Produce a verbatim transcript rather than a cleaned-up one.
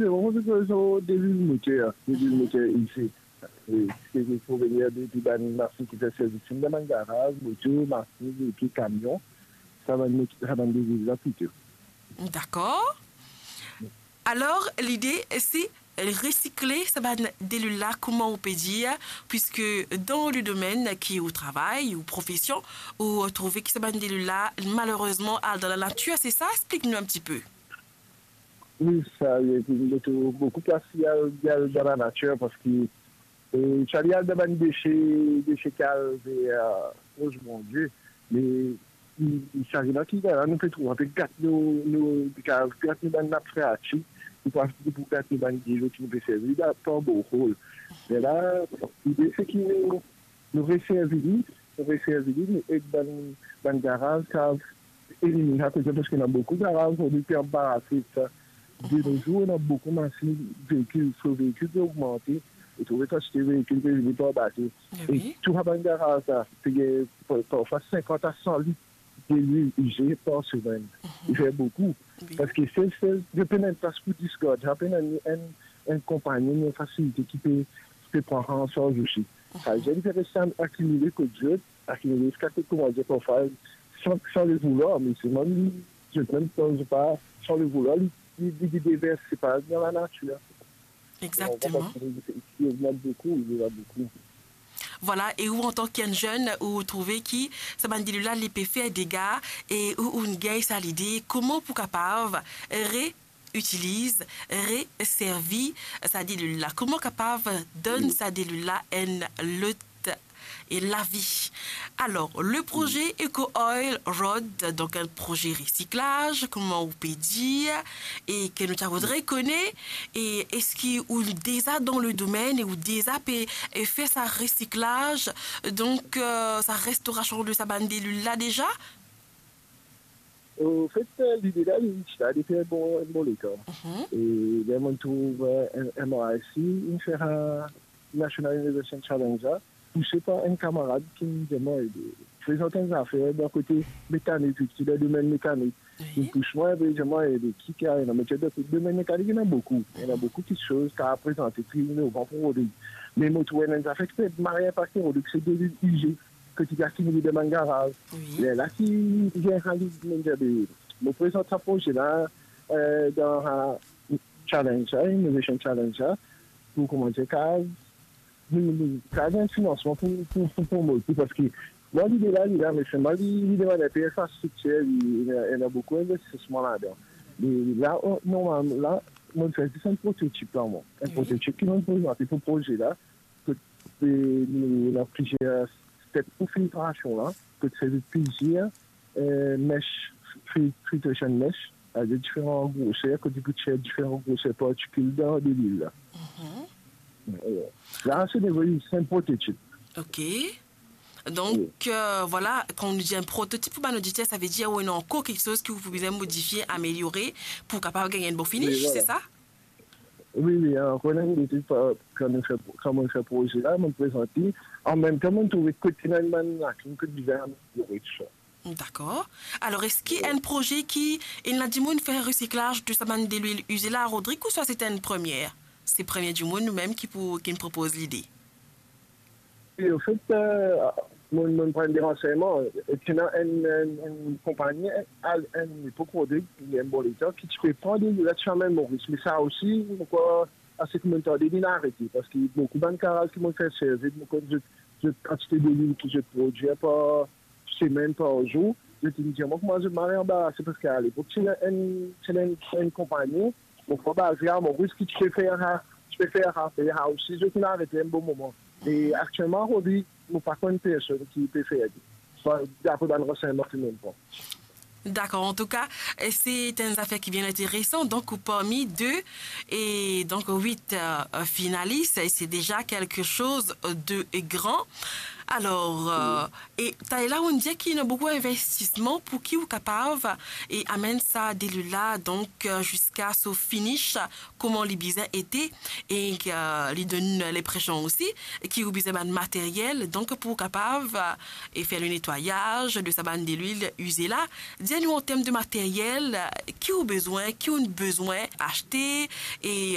Se vremem, se, se delwil moter, delwil moter ize. E, se, se proveni de, de bann masin ki fer servis dan bann garaz, moto, masin, epi kamion. Sa bann mot-, sa bann delwil la plito. Dakor. Alor, lide, se resikle sa bann delwil la, kouma ou pe dir, piske dan le domenn ki ou travay, ou profesion, ou trouve ki sa bann delwil la, malerezman, al dan lanatir, se sa? Explik nou enn tipe. Wi, sa, li, li, li, boukou plastik al, al dan lanatir, paski, e, sa li al dan bann dese, dese ki al ver, e, koz Bondie. Me, li, li, sa, la ki, la, nou pe trouve, pe gat nou, nou, pe gat nou bann nap freatik, nou pa, nou pou gat nou bann dilo ki nou pe servi, la, par borehole. Me la, lide, se ki nou, nou reservi li, nou reservi li, nou ed bann, bann garaz kav eliminn sa koze, paski ena boukou garaz, ou pe anbarase sa. De nos jours, ena boukou masin, veikil, so veikil pe ogmante, e trouve kantite veikil pe vini par bato. E tou sa bann garaz la, pe gagn par-, parfwa sinkant a san lit delwil ize par semenn. Li fer boukou. Paski se, se, zot pena enn plas pou disgard, zot pena enn, enn, enn konpagni, enn fasilite ki pe, pe pran sa an sarz osi. Sa vedir li pe res akimile kot zot, akimile ziska kot, kouma dir, parfwa, san, san le voulwar, me selman li, zot mem, kan zot pa, san le voulwar, li, li, li, li devers, se pa dan lanatir. Exakteman. Li, li, li ogmant boukou, li ogmant boukou. Vwala, e ou, antan ki enn zenn, ou trouve ki sa bann delwil la, li pe fer dega, e ou, ou'nn gagn sa lide, kouma pou kapav re- itiliz, reservi sa delwil la? Kouma kapav donn sa delwil la enn lot e lavi? Alor, le proze Eco Oil Rod, donk enn proze resiklaz, kouma ou pe dir, e ki nou ta voudre kone, e eski ou deza dan le domenn e ou deza pe, e, fer sa resiklaz, donk, e, sa restorasion de sa bann delwil la deza? Anfet, lide la, li ti la depi enn bon, enn bon letan. E ler mo'nn trouv, e, M R I C, inn fer, e, National Innovation Challenge la, pouse par enn kamarad ki'nn dir mwa ede. Prezant enn zafer dan kote mekanik, ki dan domenn mekanik. Li pous mwa, li dir mwa ede, ki, ki ena, me ti dan domenn mekanik, ena boukou. Ena boukou kiksoz ki kapav prezante ki inovan pou Rodrig. Me mo trouv enn zafer ki pe mari enn paket Rodrig, se delwil ize. Ki ti gagn dan bann garaz. Lerla ki gagn sa lide, mo dir, be, mo prezant sa proze la, e, dan, e, challenge la, Innovation Challenge la, pou kouma dir, kapav, nou, nou, kapav gagn finansman pou, pou, pou, pou promot li, paski mwa lide la, li la, me selman li, li demann enpe infrastriktir, li, ena, ena boukou investisman ladan. Me la, o, normalman, la, mo'nn fer zis enn prototip la, mwa. Enn prototip ki mo'nn prezante pou proze la, kot, e, nou, nou ena plizier step pou filtrasion la, kot servi plizier, e, mesh, fil-, filtration mesh, avek diferan groser, kot li pou tir diferan groser partikil dan delwil la. E, la, se devan, se enn prototip. Ok. Donk, e, vwala, kan nou dir enn prototip pou bann oditer, sa ve dir ou ena ankor kiksoz ki ou pou bizin modifie, ameliore, pou kapav gagn enn bon finish, se sa? Wi, wi, ankor enn lide, kan nou fer, kan mo'nn fer proze la, mo'nn prezant li. Anmemtan, mo'nn trouve kot ena enn bann lakin, kot bizin ameliore tousala. Dakor. Alor, eski enn proze ki ena dimoun fer resiklaz de sa bann delwil ize la, Rodrig, ouswa se enn premie? Se premie dimoun ou mem ki pou, ki'nn propoz lide? E, anfet, e, mo'nn, mo'nn pran de ransegnman. E ti ena enn, enn, enn konpagni, al enn lepok, Rodrig, li enn bon letan, ki ti pe pran delwil la, ti amenn Moris. Me sa osi, mo krwar, ase ki mo'nn tande, li'nn arete, paski boukou bann garaz ki mo'nn fer servi, mo konn zot, zot kantite delwil ki zot prodwir par semenn, par zour, zot inn dir mwa kouma zot mari anbarase, paski alepok, ti ena enn, ti ena enn, enn konpagni, mo krwar, baze a Moris, ki ti pe fer sa, ti pe fer sa, fer sa osi, zot inn arete enn bon moman. E aktielman, Rodrig, mo pa konn personn ki pe fer li. Sa, dapre bann ransegnman ki mo'nn pran. Dakor, antouka, e se enn zafer ki bien interesan. Donk, ou parmi de, e donk, wit, e, finalis, e se deza quelque chose de grand. Alor, e, e taler la, ou'nn dir ki ena boukou investisman pou ki ou kapav, e, amenn sa delwil la, donk, e, ziska so finish, kouma li bizin ete, e, e, li donn linpresion osi ki ou bizin bann materyel, donk, pou kapav, e, fer le netwayaz de sa bann delwil ize la. Dir nou, an term de materyel, ki ou bizin, ki ou'nn bizin aste, e,